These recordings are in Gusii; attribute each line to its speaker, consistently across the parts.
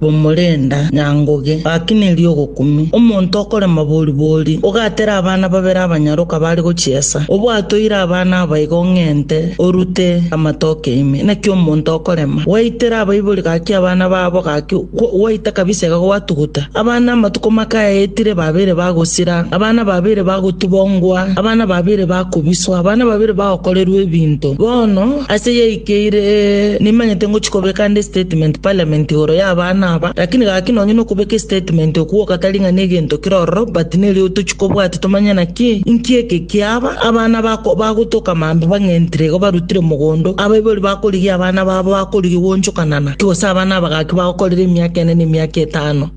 Speaker 1: Bomorenda nyangoge, gaki nerio ogokumia. Omonto okorema bori-bori, ogatera abana babere abanyaroka bare gochiesa, obwatoire abana aba igo ng'ente orute amatoke ime. Naki omonto okorema, gwaitera abaibori gaki abana babo gaki gwaita kabisa iga gwatuguta. Abana amatuko make aetire babeire bagosira, abana babeire bagotubongwa, abana babeire bakobiswa, abana babeire bagokorerwa ebinto. Bono ase yaikeire nimanyete ngochia kobeka ande estatement parliament igoro y'abana aba, lakini gaki nonye nokobeka estatement okwo gwoka tari ng'a negento kere ororo but nerio tochia kobwatia tomanye naki inki eke kiaba, abana bako bagotoka mambia bang'entire igo barutire mogondo, abaibori bakorigia abana babo bakorigia goonchokanana ki gose abana aba gaki bagokorera emiaka ene na emiaka etano.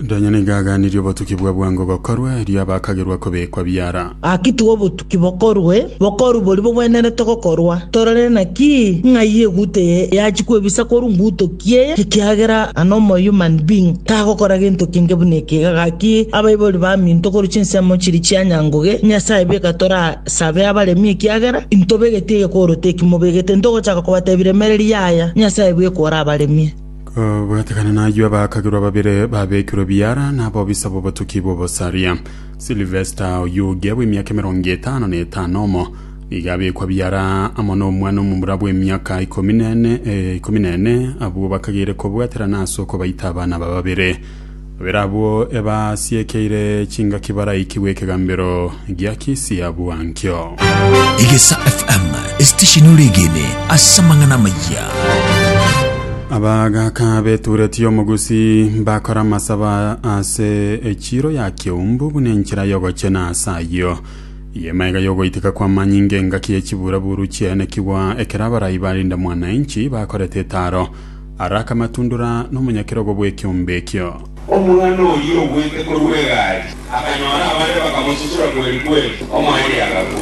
Speaker 2: Nonya nigo aganirie obotuki bwa bwango gokorwa, erio abakagerwa kobekwa biara.
Speaker 1: Gaki tiga obotuki bokorwe, bokorwe boria bogwenerete gokorwa, torore naki ng'ai eguto eye yachia kwebisa korwa nguto ki eye, ekiagera a normal human being tagokora gento kenge buna eke iga. Gaki abaibori baminto korwa chinsemo chiria chia nyangoge, Nyasae beka torasabe abaremi ekiagera intobegeti egekoroto eki mobegete, ntogochaka kobatebia remereria yaya, Nyasae bweka orabaremie.
Speaker 2: Kobwatekana nayio abakagerwa babere babekirwe biara nabobisa b'obotuki bw'obosaria. Silvester Oyuge bw'emiaka emerongo etano na etano omo nigo abekwa biara amo nomwana omomura bw'emiaka ikomi na ene eh, ikomi na ene abwo bakageire kobwaterana ase okobaita abana aba babere. Babere abwo ebasiekeire chingaki baraikigwe ekegambero gia Kisii abwo ankio.
Speaker 3: Egesa FM, esitesheni oregene ase amang'ana amayia.
Speaker 2: Abagaaka b'etureti y'omogusi mbakora amasaba ase echiiro ya Keumbu buna enchera y'ogochena ase ayio. Eye magega y'ogoiteka kw'amanyinga engaki ye chiburaburu chiaenekigwa ekero abarai ba Linda Mwananchi bakorete etaaro. Araka amatundura nomonyakerogo bw'ekeombe ekio.
Speaker 4: Omwana oyio ogwete korwa egari, akanyora abande bakamosusura kweri kweri, omoerio agakwa.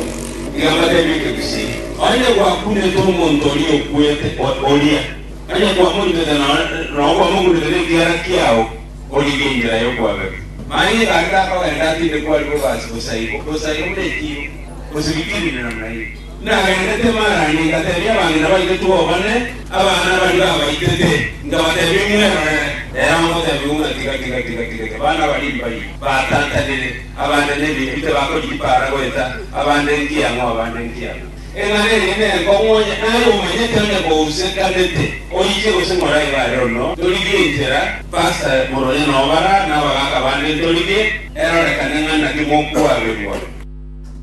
Speaker 4: Tiga mbatebie ekegusii, onye gwakunete omonto oria okwete oria, onye kwamorutete nonya kwamokunete nekiara kiao, origie enchera y'okwabera. Manya egari takogenda atindekwe aria bobasi bosa igo, bosa igo buna echiiro, gose bitirire namna hiyo. Nagendete Marani, ngateebia abang'ina baitetwe obone abana baria babaitete, nkabateebia, Mwerorere! Ere amoteebia ng'a, Tiga, tiga, tiga, tiga, tiga, abana baria mbayio, batantanire, abande nebinto bakorigia para goeta, abande nkiang'o, abande nkiang'o. Eng'ana eria nenkong'u onye naye omanyete onye kousekanete, oiche gose ng'ora iga are ono, torigie enchera, Pastor Moronya nobara, na abagaaka bande ntorigie, erorekane ng'a naki mokwaberwa.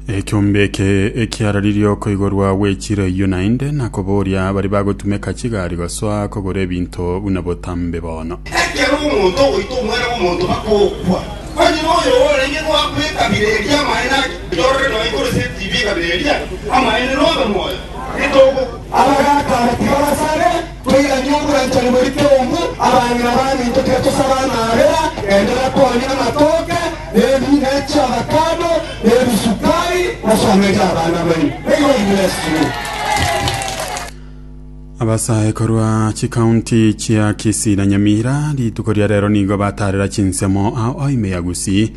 Speaker 2: Ekeombe eke ekiararirie okoigorwa gw'echiro eyio naende na koboria baria bagotumeka chigari gosoa kogora ebinto buna botambe bono.
Speaker 5: Ekero omonto ogoita omwana bw'omonto bakogwa, onye noyo orenge goakwa ekabira eria amaene ake, torore nonya igoro ase etibi ekabira eria amaene nobe moyo, titogokwa.
Speaker 6: Abagaaka aba tiga basabe, toiranie obwanchani boria keumbu, abang'ina baminto tiga tosabe amaabera, genderera koonia amatoke, ne chiavacado, na ebisukari, mosomerie abana baino. May God bless you.
Speaker 2: Abasae korwa chikaunti chia Kisii na Nyamira rituko ria rero nigo batarera chinsemo ao ao ime ya Gusii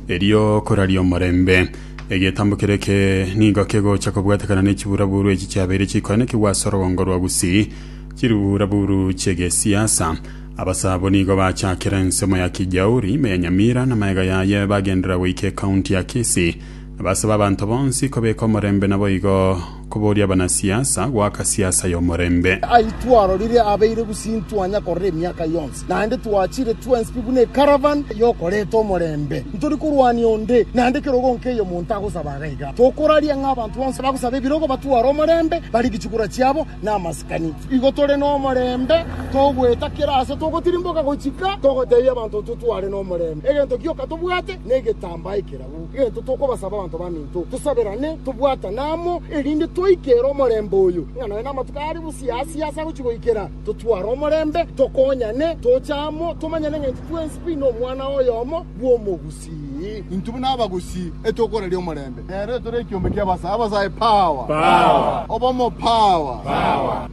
Speaker 2: erio koraria omorembe. Egetambo kere eke nigo kegocha kobwatekana ne chiburaburu echi chiabeire chikoenekigwa ase orogongo rwa Gusii chiburaburu chi'egesiasa. Abasae abwo nigo bachakera ensemo ya Kijauri ime ya Nyamira na magega yaye bagenderera goika ekaunti ya Kisii na basaba abanto bonsi kobeka omorembe naboigo koboria abanasiasa goaka siasa y'omorembe.
Speaker 7: Ayio twarorire abeire gusii ntwanya korora emiaka yonsi, naende twachire twensi pi buna ecaravan y'okoreta omorembe. Ntori korwania onde, naende ekerogo nkeiyo monto agosaba iga iga. Tokoraria ng'a abanto bonsi bagosaba ebirogo batware omorembe, barigie chikura chiabo namasikani. Igo tore nomorembe, togoeta kera aase togotirimboka gochika, togotebia abanto totware nomorembe. Egento gioka tobwate negetambaa ekerabu. Egento tokobasaba abanto baminto, tosaberane, tobwatane amo, erinde toikere omorembe oyo, ng'a nonya namatuko aria bosiasi ase agochia goikera, totware omorembe, tokonyane, toche amo, tomanyane ng'a intwe twensi pi nomwana oyomo bw'omogusii.
Speaker 8: Intwe buna abagusii etokoraria omorembe. Nere tore ekiombe ki'abasae, abasae power, obomo power,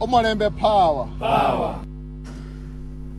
Speaker 8: omorembe power.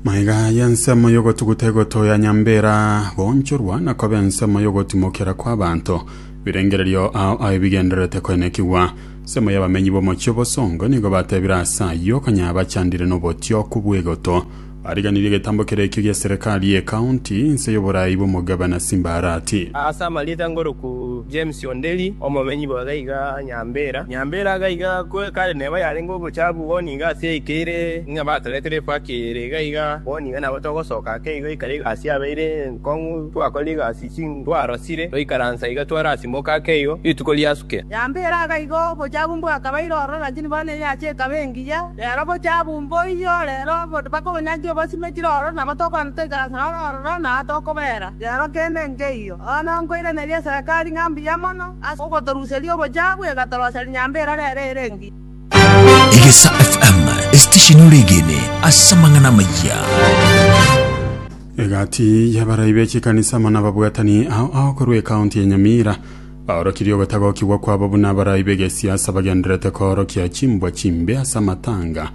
Speaker 2: Magega y'ensemo y'ogotuguta egoto ya Nyambera goonchorwa na koba ensemo y'ogotimokera kw'abanto, birengererio ao ao ebigendererete koenekigwa. Ensemo y'abamenyi b'omochie o bosongo nigo batebire ase ayio konya bachandire nobotioku bw'egoto. Bariganirie egetambo keria ekio gia serikali y'ecounty inse y'oborai bw'omogabana Simba Arati.
Speaker 9: Ase amarieta ngoroku James Onderi, omomenyi bwa gaiga Nyambera. Nyambera gaiga kare neba yarenge obochafu bono iga ase yaikeire ng'a batoretire efaki ere iga iga bono iga nabo togosoka ake igo ekero egasi yabeire enkong'u twakorire egasi twarosire twaikaransa iga twarasimoka ake igo rituko riasuke.
Speaker 10: Yambera agaiga obochafu mbwakabaire ororo, lakini bono eyacha ekaba engiya. Rero obochafu mboiyo, rero bakobonyancha obosimekire ororo, nabo tokogenda toikaranse noro ororo, na tokobera. Rero kende nkeiyo. Bono nkoiraneria eserekari ng'a mbuya mono ase ogotoruseria obochafu, egatoroseria nyambera rero ere engiya.
Speaker 3: Egesa FM, esitesheni oregene ase amang'ana amayia.
Speaker 2: Egati y'abarai be chikanisa amo nababwatani ao ao korwa ekaunti ya Nyamira baorokirie ogotagokigwa kwabo buna abarai b'egesiasa bagendererete koorokia chimbwa chimbe ase amatanga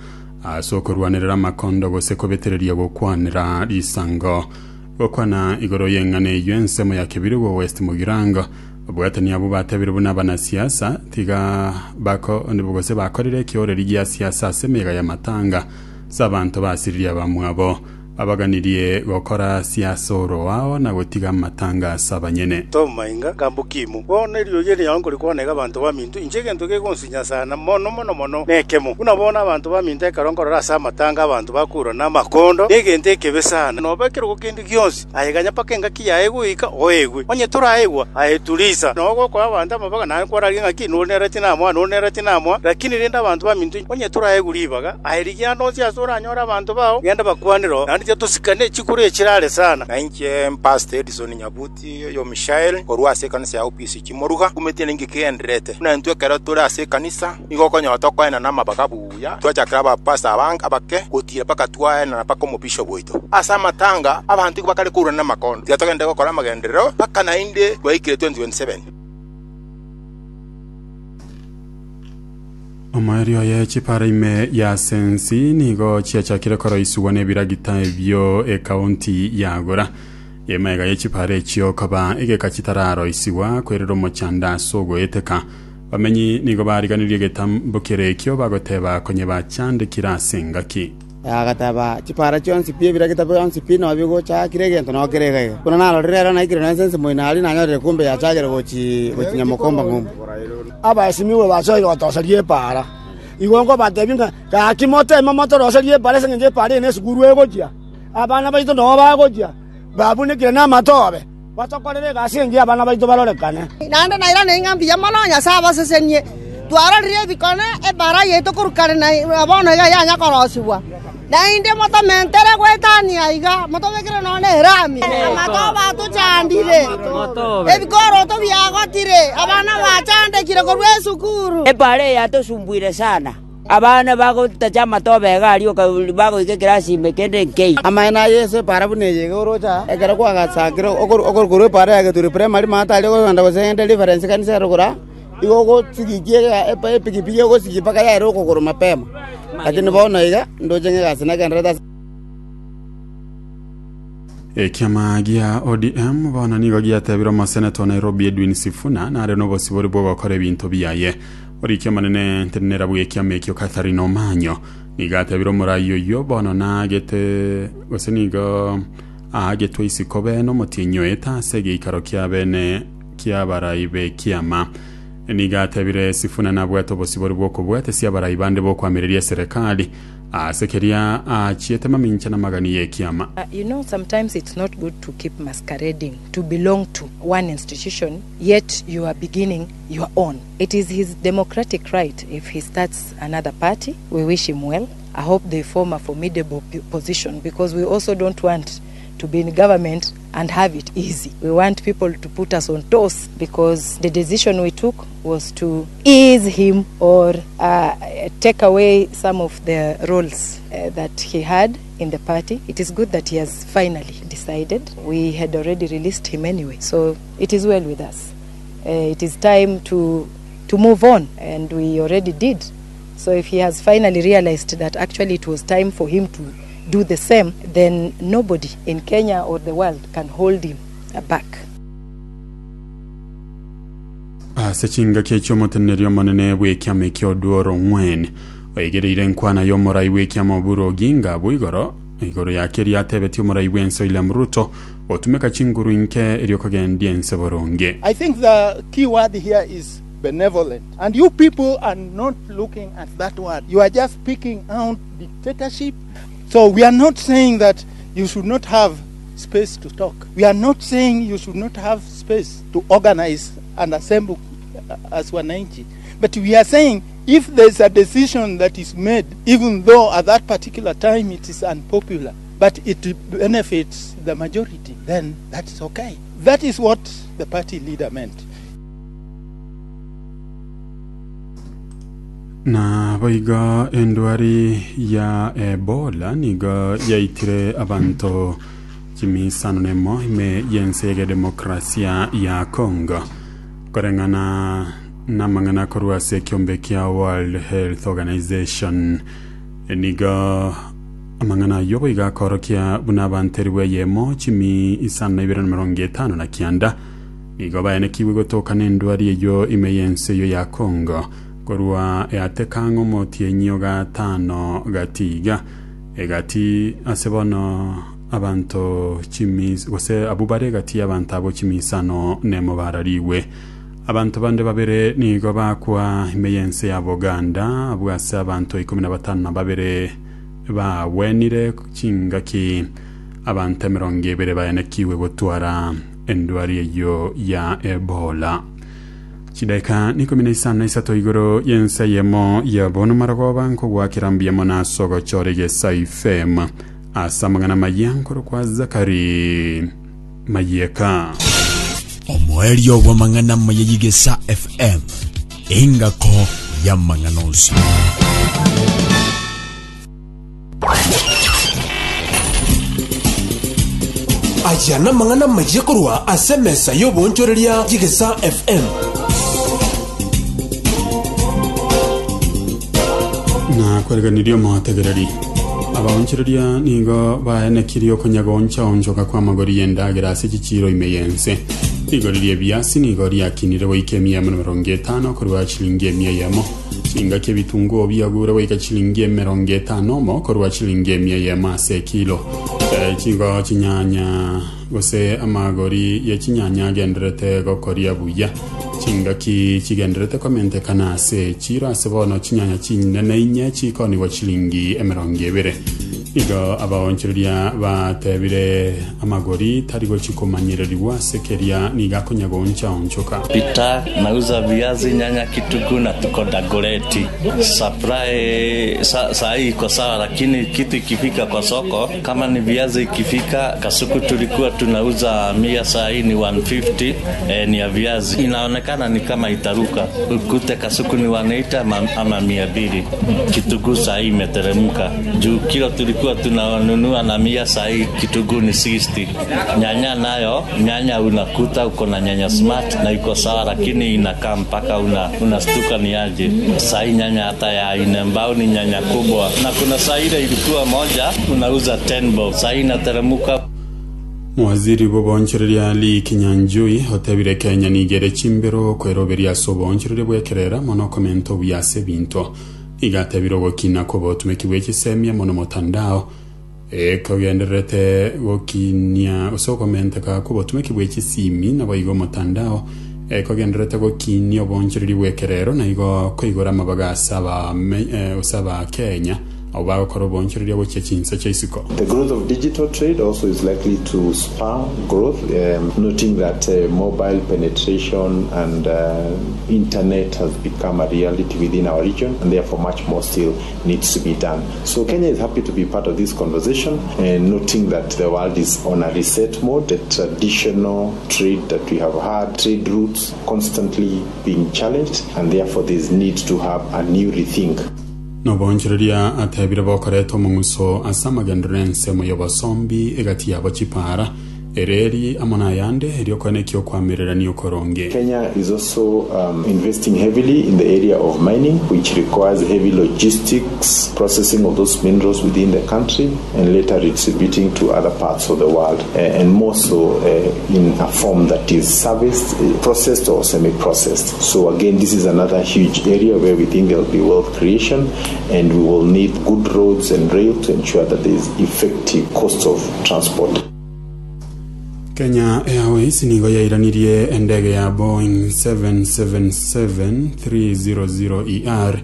Speaker 2: ase okorwanerera amakondo gose kobetereria gokwanera risango. Gokwana igoro y'eng'ana eyio ensemo ya Kebirigo West Mugirango, ababwatani abwo batebire buna abanasiasa tiga bako gose bakorire ekeoreri gia siasa ase emeyega y'amatanga ase abanto basiririe abamwabo. Babaganirie gokora siasa oroao na gotiga amatanga ase abanyene.
Speaker 11: Tom Mainga, Kambu Kimu. Bono eriogi eri nao nkorikwana iga abanto baminto, inche egento kegonsinya sana mono mono mono nekemo. Buna bono abanto baminto ekero nkorora ase amatanga abanto bakoirwa namakondo, negento ekebe sana. Noba ekerogo kende gionsi, aye ganya mpaka engaki yaye goika oegwe. Onye toraegwa, aye turisa. Noo gokoa abanto amabaga naye nkwararige ng'aki, nore nere tinamoa, nore nere tinamoa. Lakini rende abanto baminto, onye toraegwe ribaga, Aye rigia ande onsi ase oranyore abanto bao, genda bakwanere oo, naende tiga tosikane chikura echire are sana.
Speaker 12: Na inche Pastor Edison Nyabuti oyo Mishael korwa ase ekanisa ya OPC Chimoruga, nkumeti ninki kegendererete. Buna intwe ekero tore ase ekanisa nigo okonyora tokoenana amabaga buya, twachakera abapastor abange abake gotira mpaka twaenana mpaka omobishop oito. Ase amatanga abanto igo bakare kourana namakondo. Tiga togende gokora amagenderero mpaka naende twaikire 2027.
Speaker 2: Omoerio oye chipara ime ya Sensi nigo chiachakire koroisigwa nebiragita ebio ekaunti yagora. Emaega ye chipara echio koba egeka chitararoisigwa kwerera omochando ase ogoeteka. Bamenyi nigo bariganirie egetambo kere ekio bagoteba konye bachandekire ase engaki.
Speaker 13: Agateba, Chipara chionsi pi, ebiragita bionsi pi nao bigochakire egento nao kere iga iga. Buna narorire ero naikire nonya ense moino aria nanyorire kumbe yachagire gochi gochi nyamokomba ng'umbu.
Speaker 7: Abaesimigwe basoire gotoseria epaara. Igo nkobatebia ng'a gaki moteme motoroserie epaara ase engencho epaara eye nesukuru egochia, abana baito noo bagochia, babunekire namatobe, batokorere egasi engiya abana baito barorekane.
Speaker 10: Naende nairanire ng'a mbuya mono, Nyasae abasesenie. Twarorire ebikone, epaara yaito korwa kare na bono iga yanya korosigwa. Naende motomentere goetania iga, motobekere nonya nerami. Amatobe atochandire, ebikoroto biagotire, abana bachandekire korwa esukuru.
Speaker 14: Epaara eye yatosumbuire sana, abana bagotacha amatobe iga aria oka bagoika ekerasi ime kende nkeiyo.
Speaker 13: Amaene a Yeso epaara buna eye iga oroche aa, ekero kwagasakire okorwa epaara ya Geturi Primary maate aria okogenda gose gende Reference kanisa ere korwa aa, Igo ogosigikia epigipigi egosigia mpaka yaera okogoro mapema. Lakini bono iga ndoche ng'a egasi nagendererete ase.
Speaker 2: Ekiama gia ODM bono nigo giatebire omoseneta o Nairobi Edwin Sifuna nare nobosibore bw'ogokora ebinto biaye. Oriki omonene ntenenera bw'ekiama ekio Catherine Omanyo nigo atebire omorai oyio bono naagete gose nigo aagetwe isiko bene omotienyi oete ase egeikaro kia bene ki'abarai b'ekiama. Nigo atebire Sifuna nabwate obosibore bw'okobwatesia abarai bande b'okoamereria eserekari ase keria aachiete mamincha namagani y'ekiama.
Speaker 15: You know sometimes it's not good to keep masquerading to belong to one institution yet you are beginning your own. It is his democratic right if he starts another party, we wish him well, I hope they form a formidable position because we also don't want to be in government and have it easy. We want people to put us on toes because the decision we took was to ease him or uh, take away some of the roles uh, that he had in the party. It is good that he has finally decided. We had already released him anyway, so it is well with us. Uh, it is time to to move on, and we already did. So if he has finally realized that actually it was time for him to do the same, then nobody in Kenya or the world can hold him back.
Speaker 2: Ase chingaki echio omoteneneri omonene bw'ekiama ekio Oduor Ong'wen oigereire enkwana y'omorai bw'ekiama Oburu Oginga abwo igoro igoro ya keria atebetie omorai bw'ense William Ruto gotumeka chinguru inke erio kogendia ense boronge.
Speaker 16: I think the key word here is benevolent and you people are not looking at that word you are just picking out dictatorship so we are not saying that you should not have space to talk we are not saying you should not have space to organize and assemble as wananchi but we are saying if there is a decision that is made even though at that particular time it is unpopular but it benefits the majority then that is okay that is what the party leader meant.
Speaker 2: Naboigo endwari ya Ebola nigo yaitire abanto chimisano nemo ime y'ense y'egedemokrasia ya Congo. Koreng'ana namang'ana korwa ase ekiombe kia World Health Organization nigo amang'ana ayio boigo akorokia buna abanto elifu eyemo chimi isano na ibere na emerongo etano na kianda Nigo baenekigwe gotoka nendwari eyio ime y'ense eyio ya Congo, korwa eateka ang'e omotienyi o gatano gati iga. Egati ase bono abanto chimis gose abwo bare egati y'abanto abwo chimisano nemo bararigwe. Abanto bande babere nigo bakwa ime y'ense ya Buganda, abwo ase abanto ikomi na batano na babere bagwenire chingaki abanto emerongo ebere baenekigwe gotwara Endwari eyio ya Ebola. Chidaeka nikomi na isano na isato igoro y'ense eyemo ya bono marogoba nkogwakera mbuya mono ase ogochora Egesaai FM ase amang'ana amaya nkorokwa Zakari Mayeka.
Speaker 3: Omoerio bw'amang'ana amaya y'Igesa FM, engako y'amang'ana onsi.
Speaker 17: Aya namang'ana amayia korwa ase emesa y'oboonchoreria y'Egesaa FM.
Speaker 2: Na kwereganirie omotegereri. Abaonchoreria nigo baenekirie okonyagooncha-onchoka kw'amagori y'endagera ase chichiiro ime y'ense. Rigori ri'ebiasi nigo riakinire goika emia emo na emerongo etano korwa chilingi emia eyemo. Chingaki ebitunguo biagure goika chilingi emerongo etano omo korwa chilingi emia eyemo ase ekilo. Eh, Chigo chinyanya gose amagori ye chinyanya agenderete gokoria buya. Chingaki chigenderete komentekana ase echiro ase bono chinyanya chinene inye chikonigwa chilingi emerongo ebere. Igo abaonchoreria batebire amagori tari gochi komanyererigwa ase keria nigo akonya gooncha-onchoka.
Speaker 18: Peter, Nauza viazi, nyanya, kitunguu na tuko Dagoretti. Supply sa, saa hii iko sawa, lakini kitu ikifika kwa soko kama ni viazi ikifika Kasuku tulikuwa tunauza 100 saa hii ni 150 eh, ni ya viazi inaonekana ni kama itaruka ukute Kasuku ni 180 ama, ama 200. Kitunguu saa hii imeteremka juu kilo tulikuwa tunanunua na 100 saa hii kitunguu ni 60. Nyanya nayo, nyanya unakuta uko na nyanya smart na iko sawa, lakini inakaa mpaka una unastuka ni aje. Saa hii nyanya hata ya inembao ni nyanya kubwa, na kuna saa ile ilikuwa moja unauza 10 bob, saa hii inateremka.
Speaker 2: Mowaziri bw'oboonchoreria Lee Kinyanjui otebire Kenya nigo ere chimbero kweroberia ase oboonchoreria bw'ekerera mono okomenta obuya ase ebinto. Nigo atebire ogokina kw'obotumeki bwe chisemia mono motandao ekogendererete gokinia gose okomenteka kw'obotumeki bwe chisimi naboigo omotandao ekogendererete gokinia oboonchoreria bw'ekerero na igo koigora amabaga ase abame gose abakenya abwo bagokora oboonchoreria gochia chinse chia isiko.
Speaker 19: The growth of digital trade also is likely to spur growth, noting that mobile penetration and internet has become a reality within our region and therefore much more still needs to be done. So Kenya is happy to be part of this conversation and noting that the world is on a reset mode, the traditional trade that we have had, trade routes constantly being challenged and therefore there is need to have a new rethink.
Speaker 2: Noboonchoreria atebire bokoreta omong'uso ase amagenderero ensemo y'obosombi egati yabo chipaara, Ereri amo nayande, erio koenekia okoamererania okoronge.
Speaker 19: Kenya is also investing heavily in the area of mining which requires heavy logistics, processing of those minerals within the country and later redistributing to other parts of the world and more so in a form that is serviced, processed or semi-processed. So again this is another huge area where we think there will be wealth creation and we will need good roads and rail to ensure that there is effective cost of transport.
Speaker 2: Kenya Airways nigo yairanirie endege ya Boeing 777-300ER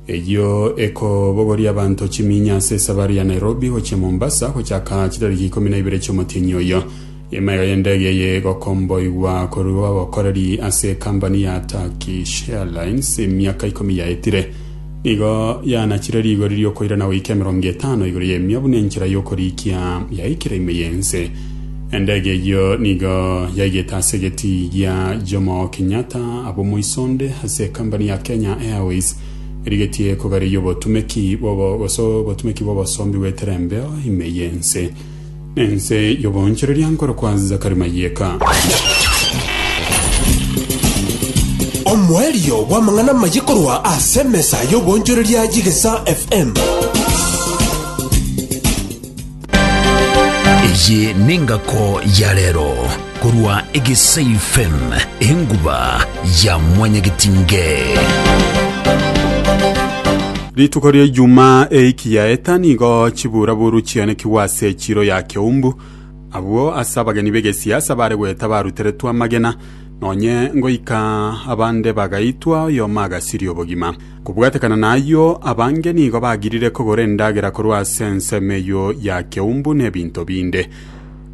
Speaker 2: eyio ekobogoria abanto chiminya ase esabari ya Nairobi gochia Mombasa gochaka chitariki ikomi na ibere chi'omotienyi oyo. Emaiga y'endege eye egokomboigwa korwa obokoreri ase ekambani ya Turkish Airlines emiaka ikomi yaetire. Nigo yanachire rigori ri'okoirana goika emerongo etano igoro y'emia buna enchera y'okorikia yaikire ime y'ense. Endege eyio nigo yaigete ase egetii gia Jomo Kenyatta abwo moisonde ase ekambani ya Kenya Airways erigetie kogareria obotumeki bw'obo gose obotumeki bw'obosombi goetera embeo ime y'ense. Nense y'oboonchoreria nkorokwa Zakari Mayeka.
Speaker 17: Omoerio bw'amang'ana amaye korwa ase emesa y'oboonchoreria y'Egesaa FM.
Speaker 3: Eye nengako ya rero korwa Egesai FM, enguba ya mwanyagetinge.
Speaker 2: Rituko ria Ijumaa eiki yaeta nigo chiburaburu chianekigwe ase echiro ya Keumbu, abwo ase abageni b'egesiasa bare goeta baruteretwe amagena, nonye ngoika abande bagaitwa oyomo agasiria obogima. Kobwatekana nayio, abange nigo bagirire kogora endagera korwa ase ensemo eyio ya Keumbu na ebinto binde.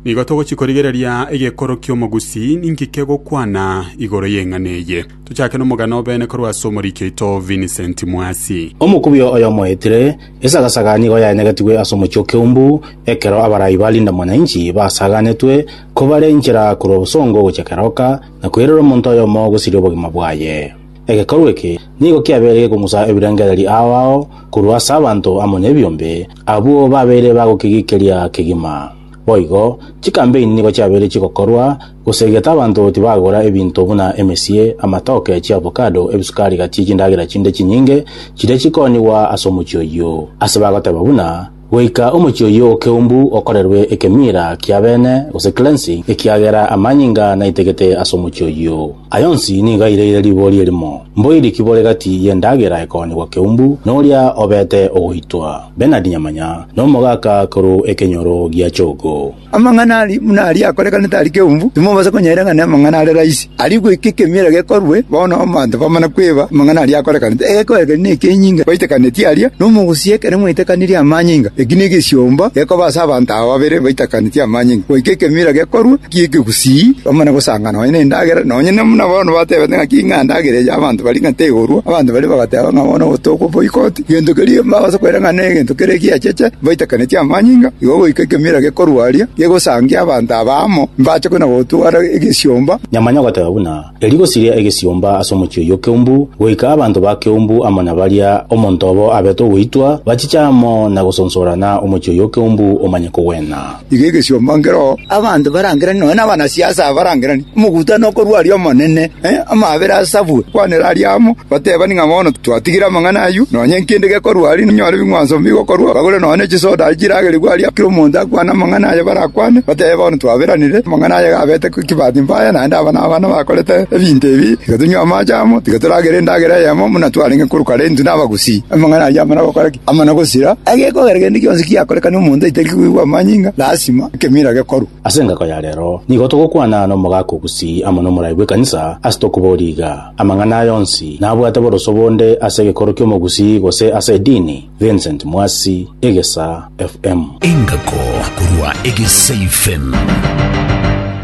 Speaker 2: Nigo togochia korigereria egekoro ki'omogusii ninki kegokwana igoro y'eng'ana eye. Tochake nomogano obene korwa ase omoriki oito Vincent Mwasi.
Speaker 20: Omokubio oyomo oetire, esagasaga nigo yaenegetigwe ase omochie o Keumbu, ekero abarai ba Linda Mwananchi basaganetwe kobare inchera korwa bosongo gochia Keroka na koirera omonto oyomo gosiria obogima bwaye. Egekorwa eke nigo kiabeire gekong'usa ebirengererio ao ao korwa ase abanto amo nebiombe, abwo babeire bagokegikeria kegima. Boigo, chikampeini nigo chiabeire chigokorwa gosegeta abanto tibagora ebinto buna emesie, amatoke, chiavocado, ebisukari gati chindagera chinde chinyinge chiria chikoonigwa ase omochie oyio. Ase bagoteba buna, Goika omochie oyio o keumbu okorerwe ekemira kia bene, gose cleansing, ekiagera amanyinga naitegete ase omochie oyio. Aya onsi nigo aireire ribori erimo, Mboiri ki bore gati y'endagera ekoonigwa keumbu noria obete ogoitwa? Bernard Nyamanya nomogaka korwa ekenyoro gia Chogo.
Speaker 21: Amang'ana aria buna aria akorekanete aria keumbu, timobasa konyaira ng'a namang'ana are rahisi. Aria goika ekemira gekorwe, bono abanto bamana kweba amang'ana aria akorekanete. Egekorekani nekenyinga baitakaneti aria, nomogusia ekero mwaitakanirie amanyinga. Eki negesiomba gekoba ase abanto aba babere baitakaneti amanyinga. Goika ekemira gekorwe ki'ekegusii, bamane gosanga nonya nendagera, nonya buna bono batebete ng'a ng'a ndagera eye abanto baria ng'a tegorwa, abanto baria bagateba ng'a bono tokoboikoti. Gento keria mbabasa koira ng'a negento kere egiacheche, baitakaneti amanyinga, igo goika ekemira gekorwa aria, gegosangia abanto aba amo, mbache kona-gotwara egesiomba.
Speaker 20: Nyamanya ogoteba buna, Erio gosiria egesiomba ase omochie oyio Keumbu, goika abanto ba Keumbu amo na baria omonto obo abete ogoitwa, bachiche amo na gosonsorana omochie oyio Keumbu omanye kogwena.
Speaker 21: Igo egesiomba nkeroo, abanto barangeranie, nonya nabanasiasa aba barangeranie, omogutano okorwa aria omonene, amaabera asabwe, kwanera aria amo, batebani ng'a bono twatigire amang'ana ayio, nonya nkende gekorwa aria, ninyore ebing'wanso mbigokorwa, bagore nonya ne chisoda aria chiragerigwe aria, kera omonto akwane amang'ana aye barakwane, batebe bono twaberanire, amang'ana aya gabete kibati mbaya, naende aba nabana bakorete ebinto ebi, tiga tonywe amache amo, tiga toragere endagera eyemo buna twarenge korwa kare intwe nabagusii. Amang'ana ayio amana gokora ki? Amana gosira. Egekogera kende gionsi giakorekana omonto aitari koigwa amanyinga, lasima ekemira gekorwe.
Speaker 20: Ase engako ya rero nigo togokwana nomogaka o Gusii amo nomorai bw'ekanisa ase tokoboria iga, Amang'ana aya onsi nabwate boroso bonde ase egekoro ki'omogusii gose ase edini? Vincent Mwasi, Egesa FM.
Speaker 3: Engako korwa Egesa FM.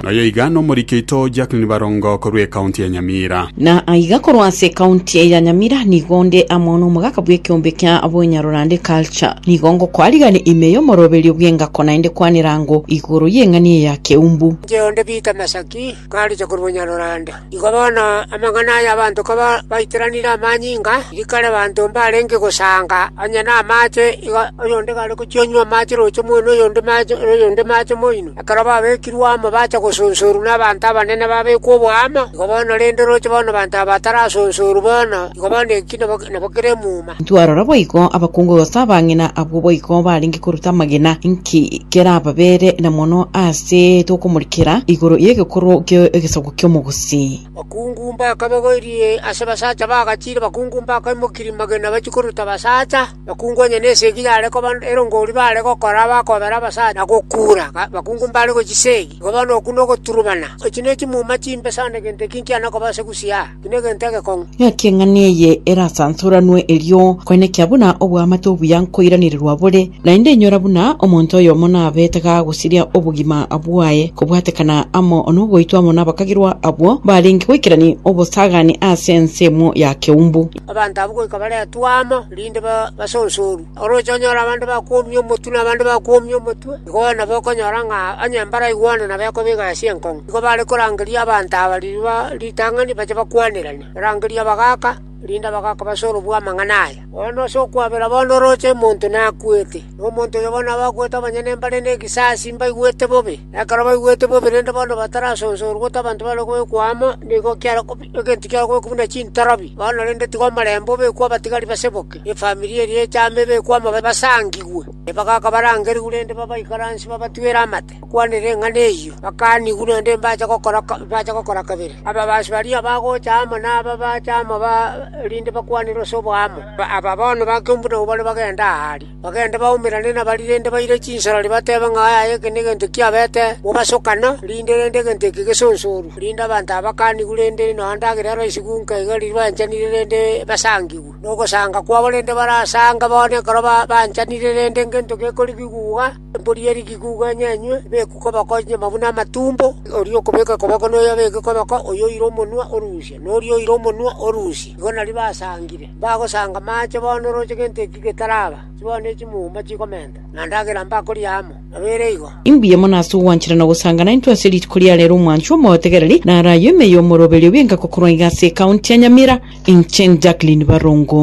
Speaker 2: Noyo iga nomoriki oito Jacqueline Barongo korwa ekaunti ya Nyamira.
Speaker 1: Na aiga korwa ase ekaunti ya Nyamira nigo nde amo nomogaka bw'ekeombe kia Abonyarorande Culture. Nigo ngokoarigania ime y'omoroberio bw'engako naende kwanera ango igoro y'eng'ani eye ya Keumbu.
Speaker 22: Inche onde Peter Masaki, nkaricha korwa Bonyarorande. Igo bono amang'ana aya abanto kobaiteranire amanyinga, rikare abanto mbarenge gosanga onye namache, igo oyonde kare gochia onywa amache roche moino, oyonde mache, oyonde mache moino. Ekero babekirwe amo bacha gosonsorwa nabanto abanene babekwa oboamo, igo bono rende roche bono abanto aba batarasonsorwa bono, igo bono eki nabo nabo kere emuma.
Speaker 1: Ntwarora boigo abakungu gose abang'ina abwo boigo barenge koruta amagena, inki kerababere na mono ase tokomorikera igoro y'egekorwa ki'egesaku ki'omogusii.
Speaker 22: Bakungu mbakabogoirie ase basacha bagachire, bakungu mbakaimokirie magena bachie koruta basacha, bakungu onye nesegi yare koba erongori bare gokora bakobera abasacha na gokura, bakungu mbare gochisegi. Igo bono okwo nogoturubana. Echi nechimuma chimbe sana egento eki nkiana koba ase gusii aa, eki negento egekong'u.
Speaker 1: Ng'aki eng'ana eye erasansoranwe erio koenekia buna oboamate obuya nkoiranererwa bore, naende inyora buna omonto oyomo nabete gagosiria obogima bwaye kobwatekana amo nogoitwa amo nabakagirwa abwo barenge goikerania obosagani ase ensemo ya keumbu.
Speaker 22: Abanto abwo goika baretwe amo, erinde basonsorwe. Oroche onyore abande bakwomia omotwe na abande bakwomia omotwe, igo nabo okonyora ng'a onye mbaraigwane nabo ekoba egasi enkong'u. Igo bare korangeria abanto aba riria ritang'ani bache bakwanerane, barangerie abagaaka, erinde abagaaka basorobwe amang'ana aya. Bono ase okwabera bono oroche omonto nakwete, na omonto oyo bono abakwete abanyene mbare negesasi mbaigwete bobe, na ekero baigwete bobe rende bono batarasonsorwa gose abanto bare kobekwa amo, nigo kiare egento kiare kobekwa buna chintorobi. Bono rende tiga omorembe obekwe abatigari baseboke, efamiri eria echame ebekwe amo basangigwe. Abagaaka barangerigwe rende babaikaransie babatwere amate. Bakwanere eng'ana eyio, bakanigwe naende mbacha gokora mbacha gokora kabere. Ababasi baria bagocha amo naba bacha amo ba erinde bakwanere ase oboamo. Aba bono ba keumbu nabwo bare bagende aaria, bagende baumerane nabaria rende baire chinsorori batebe ng'a yaya eke negento kiabete mobasokano, rinde rende egento eke gesonsorwe, rinde abanto aba bakanigwe rende nonya ndagera eroisigwe nka iga riria banchanire rende basangigwe. Nogosanga kwabo rende barasange bono ekero banchanire rende ngento gekorigigwa iga. Embori ye rigigugu enyenywe, ebekwe koboko enyama buna amatumbo, oria okobeka koboko noyo abeke koboko, oyo oire omonwa orusie, na oria oire omonwa orusie. Igo nario basangire. Mbagosanga amache bono oroche gento eki getaraba, chibono echimuma chikomenta, na ndagera mbakoria amo. Nabo ere igo.
Speaker 1: Imbuya mono ase ogwanchera na gosanga naintwe ase rituko ria rero omwanchwa omotegereri naro ayio ime y'omoroberio bw'engako korwa iga ase ekaunti ya Nyamira. Inche Jacqueline Barongo.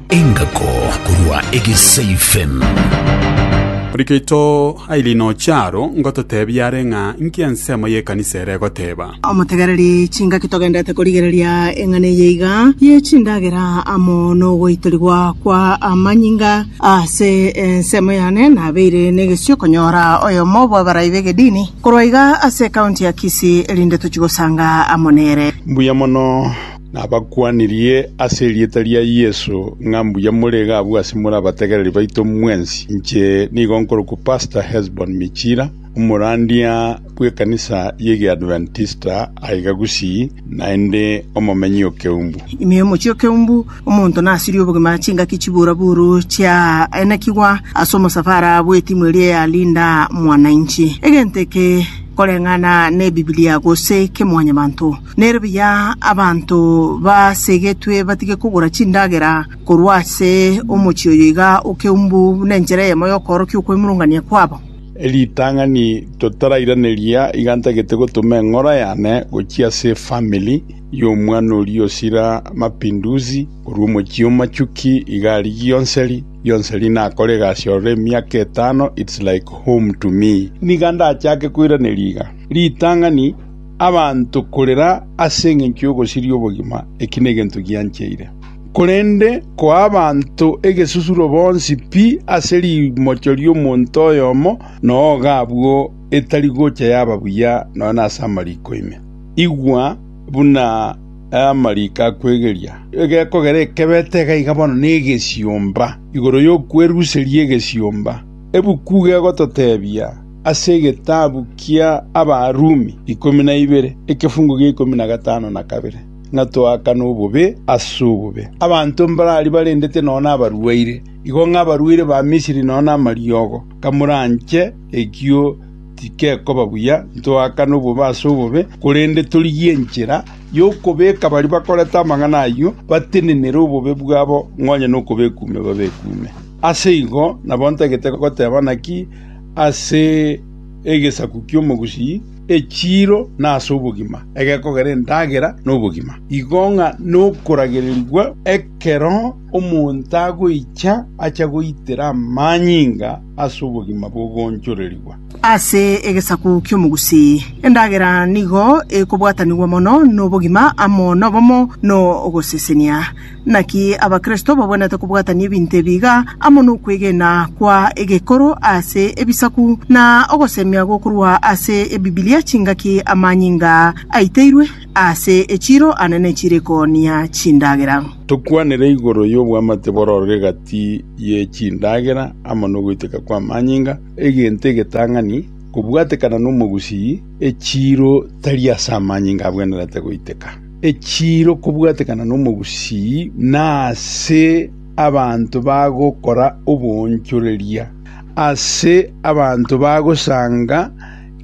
Speaker 3: Engako korwa Egesaifem.
Speaker 2: Orikeito Aileen Ocharo ngototebia are ng'a inki ensemo y'ekanisa ere egoteba.
Speaker 23: Omotegereri chingaki togenderete korigereria eng'ana eye iga ye chindagera amo nogoitorigwa kwa amanyinga ase ensemo yane nabeire negesio konyora oyomo bw'abarai b'egedini Korwa iga ase ekaunti ya Kisii erinde tochie gosanga amo nere.
Speaker 24: Mbuya mono nabakwanirie ase erieta ria Yeso ng'a mbuya more iga abwo ase more abategereri baito mwensi. Inche nigo nkorokwa Pastor Hesbon Michira, omorandia bw'ekanisa y'Egeadventista aiga Gusii, naende omomenyi o Keumbu.
Speaker 23: Ime y'omochie o Keumbu, omonto nasirie obogima chingaki chiburaburu chiaenekigwa ase omosafara bw'etimu eria ya Linda Mwananchi. Egento eke koreng'ana n'Ebibilia gose kemwanyabanto, nere buya abanto basegetwe batige kogora chindagera korwa ase omochie oyo iga o Keumbu buna enchera eyemo y'okoorokia okwemurungania kwabo.
Speaker 24: Ritang'ani totarairaneria iga ntagete gotoma eng'ora yane gochia ase efamiri y'omwana oria osira mapinduzi korwa omochie o Machuki iga aria Gionseri, Gionseri nakora egasi ororo emiaka etano it's like home to me. Niga ndachake koiraneria iga, ritang'ani abanto korera ase engencho y'ogosiria obogima eki negento giancheire. Korende koa abanto egesusuro bonsi pi ase rimocho ri'omonto oyomo, noga abwo etari gocha yaba buya nonya nase amariko ime. Igwa buna amariko akwegeria. Egekogera ekebete iga iga bono negesiomba, igoro y'okweruseria egesiomba. Ebuku gegototebia ase egetabu kia Abarumi 12, ekefungo gia 52. Ng'a toakane obobe ase obobe. Abanto mbarari barendete nonya nabarwaire, igo ng'a abarwaire ba Misiri nonya namariogo, kamoranche ekio Tikekoba buya ntoakane obobe ase obobe, korende torigie enchera y'okobeka baria bakorete amang'ana ayio batenenere obobe bwabo ng'onye nokobekume babekume. Ase igo nabo ntagete goteba naki ase egesaku ki'omogusii, echiiro na ase obogima, egekogera endagera na obogima. Igo ng'a nokoragererigwa ekero omonto agoicha acha goitera amanyinga ase obogima bogoonchorerigwa.
Speaker 23: Ase egesaku ki'omogusii, endagera nigo ekobwatanigwa mono nobogima amo nobomo nogosesenia. Naki Abakristo babwenerete kobwatania ebinto ebi iga amo nokwegena kwa egekoro ase ebisaku na ogosemia gokorwa ase Ebibilia chingaki amanyinga aiteirwe ase echiiro ane nechiiro ekoonia chindagera.
Speaker 24: Tokwanere igoro y'oboamate bororire egati ye chindagera amo nogoiteka kw'amanyinga, egento egetang'ani kobwatekana nomogusii, echiiro tari ase amanyinga abwenerete goiteka. Echiiro kobwatekana nomogusii nase abanto bagokora oboonchoreria, ase abanto bagosanga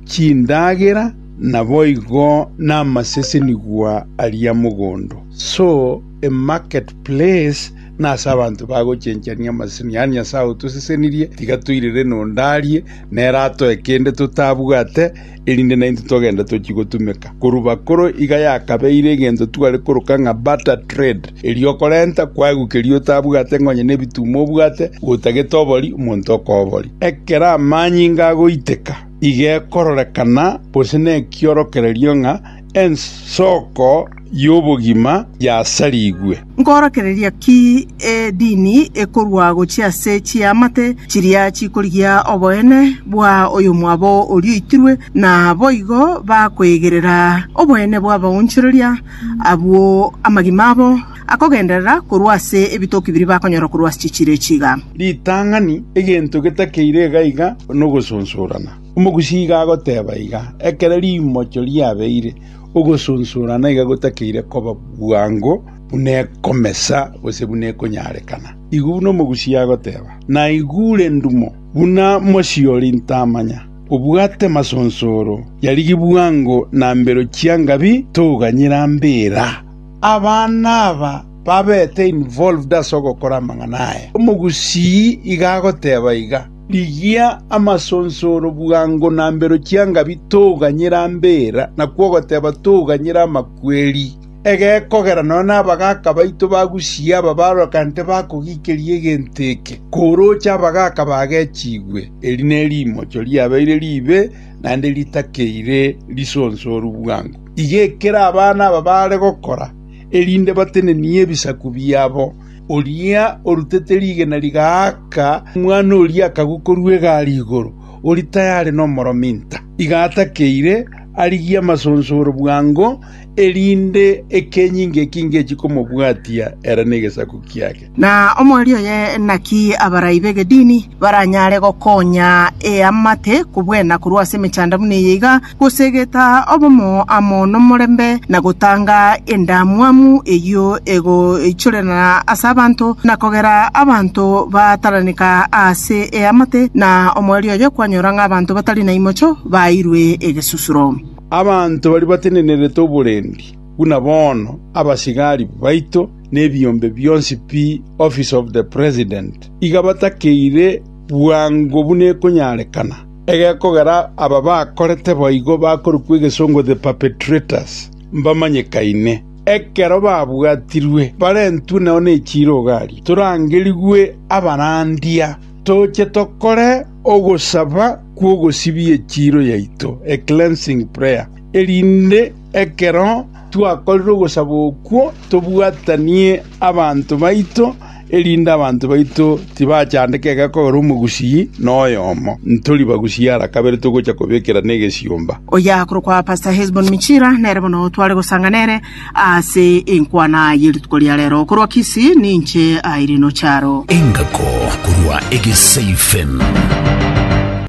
Speaker 24: chindagera, naboigo namasesenigwa aria mogondo. So a market place nase abanto bagochenchania amaseseni, yaani Nyasae otosesenirie, tiga toirere nonde arie, nere atoe kende totabwate, erinde naintwe togende tochie gotumeka. Korwa bakoro iga yakabeire egento tware koroka ng'a barter trade, erio okorenta kwaegwa keria otabwate ng'a onye nebituma obwate, gotagete obori, omonto okoa obori. Ekero amanyinga agoiteka, iga ekororekana gose nekiorokererio ng'a ensoko y'obogima yasarigwe.
Speaker 23: Nkoorokereria ki edini ekorua gochia ase chiamate chiria chikorigia oboene bwa oyomwabo oria oitirwe, na boigo bakoegerera oboene bw'abaonchoreria abwo amagima abo akogenderera korwa ase ebitoki biria bakonyora korwa ase chichiiro echi iga?
Speaker 24: Ritang'ani, egento getakeire iga iga nogosonsorana. Omogusii iga agoteba iga, ekero rimocho riabeire, Ogosonsorana iga gotakeire koba bwango buna ekomesa gose buna ekonyarekana. Igo buna omogusii agoteba, Naigure ndumo buna mosiori ntamanya, obwate masonsoro, yarigi bwango na mbero chiangabi toganyera mbera. Abana aba babete involved ase ogokora amang'ana aya. Omogusii iga agoteba iga. Rigia amasonsoro bwango na mbero chiangabi toganyera mbera, nakwo ogoteba toganyera amakweri. Egekogera nonya nabagaaka baito bagusie aba barokante bakogikeria egento eke, koroche abagaaka bagechigwe. Eri nerimocho riabeire riibe, naende ritakeire risonsoru bwango. Iga ekero abana aba bare gokora, erinde batenenie ebisaku biabo. Oria orutete rigena rigaaka omwana oria akagwa korwa egari igoro, oria tayare nomorominta. Iga atakeire arigie amasonsoro bwango, erinde ekenyinga eki ngechie komobwatia ere negesaku kiage.
Speaker 23: Na omoerio oye naki abarai b'egedini baranyare gokonya eamate kobwena korwa ase emechando buna eye iga, Gosegeta obomo amo nomorembe, na gotanga endamwamu eyio egoichorerana ase abanto, na kogera abanto bataraneka ase eamate, na omoerio oye kwanyora ng'a abanto batari na imocho baeirwe egesusuro.
Speaker 24: Abanto baria batenenerete oborendi, buna bono abasigari baito na ebiombe bionsi pi Office of the President, iga batakeire bwango buna ekonyarekana. Egekogera aba bakorete boigo bakorokwa egesongo the perpetrators mbamanyekaine. Ekero babwatirwe barentwe nao nechiira iga aria, torangerigwe abarandia, toche tokore ogosaba kw'ogosibia echiiro yaito, a cleansing prayer, erinde ekero twakorire ogosaba okwo tobwatanie abanto baito erinde abanto baito tibachandeka egekogera omogusii noyomo. Ntori bagusii ara kabere togocha kobekerana egesiomba.
Speaker 23: Oyo akorokwa Pastor Hesbon Michira nere bono tware gosanga nere ase enkwana ye rituko ria rero. Korwa Kisii ninche Irene Ocharo.
Speaker 3: Engako korwa Egesei FM.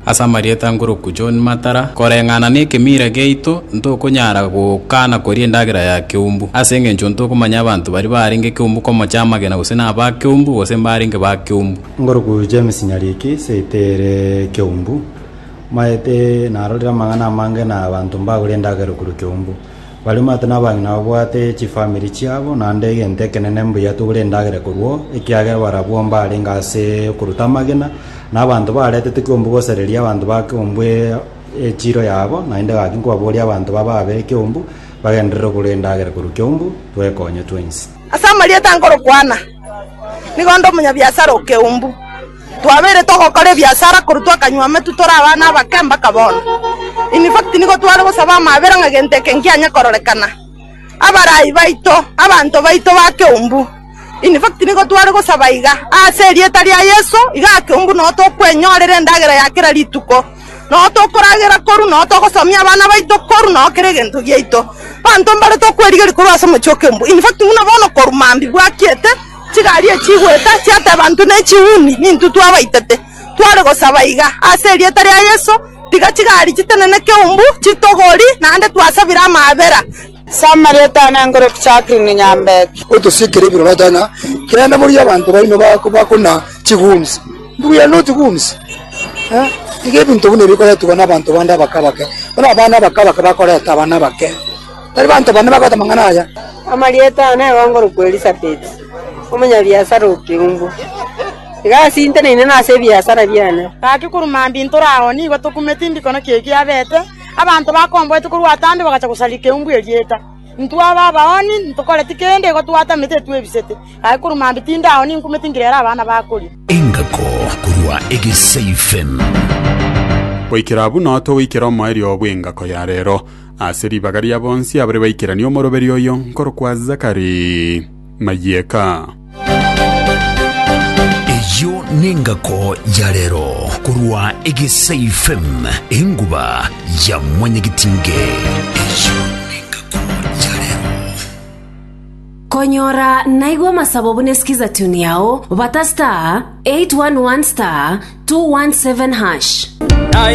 Speaker 4: Ase amarieta ngoroku John Matara, koreng'ana nekemira giaito ntokonyara gokana koria endagera ya keumbu, ase engencho ntokomanya abanto baria barenge keumbu komocha amagena gose naba keumbu gose mbarenge ba keumbu.
Speaker 5: Ngoroku James Nyariki, seito ere Keumbu. Maete narorire amang'ana amange na abanto mbagure endagera korwa keumbu. Baria omanyete nabang'ina babwate chifamiri chiabo, naende egento ekenene mbuya togure endagera korwa oo, ekiagera barabwo mbarenge ase okoruta amagena, na abanto baretete keumbu gosereria abanto ba keumbu echiro yabo, naende gaki nkobaboria abanto babe keumbu, bagenderere kogura endagera korwa keumbu, twekonye twensi.
Speaker 6: Ase amarieta nkorokwana, nigo nde omonyabiasara o keumbu. Twabeire togokora ebiasara korwa twakanywa ametwe tore abana abake mpaka bono. In fact nigo tware gosaba amabera ng'a gento eke nkianye kororekana. Abarai baito, abanto baito ba keumbu, in fact nigo tware gosaba iga, ase erieta ria Yeso, igaa keumbu noo tokwenyorera endagera ya kera rituko, noo tokoragera korwa, noo togosomia abana baito korwa, noo kera egento giaito. Abanto mbare tokwerigeria korwa ase omochie o keumbu. In fact buna bono korwa mambia bwakiete, Chigari echigoeta chiateba intwe nechiuni, nintwe twabaitete. Tware gosaba iga, ase erieta ria Yeso, tiga chigari chitenene keumbu, chitogori, naende twasabire amaabera.
Speaker 8: Samarieta ane nkore Jacqueline Nyambeki.
Speaker 21: Otosikere ebiroro ng'a kende boria abanto baino bakona chigumsi. We are not goons. Iga ebinto buna ebi bikoretwa nabanto bande abake abake. Bono abana abake abake bakoreta abana abake. Tari banto bane bagoeta amang'ana aya.
Speaker 8: Amarieta ao nigo nkorokwa Elisabeti, omonyabiasara o Keumbu. Egasi nteneine nase ebiasara biane.
Speaker 9: Gaki korwa mambia ntore ao nigo tokumeti mbikono ki eki abete, abanto bakomboete korwa atambe bagacha gosaria Keumbu erieta. Intwe aba abaoni ntokoreti kende, igo twatamete etwebisete. Gaki korwa mambia tinde ao ninkumeti nkirere abana bakoria.
Speaker 3: Engako korwa Egesaifem.
Speaker 2: Goikera abwo noo togoikera omoerio bw'engako ya rero. Ase ribaga ria bonsi abare baikeranie omoroberio oyo nkorokwa Zakari Mayeka.
Speaker 3: Eyio nengako ya rero korwa Egesai FM, enguba ya mwanyagetinge. Eyio nengako ya rero.
Speaker 25: Konyora naigwe amasabo buna esikiza tune yao, bata star 811 star 217 hash.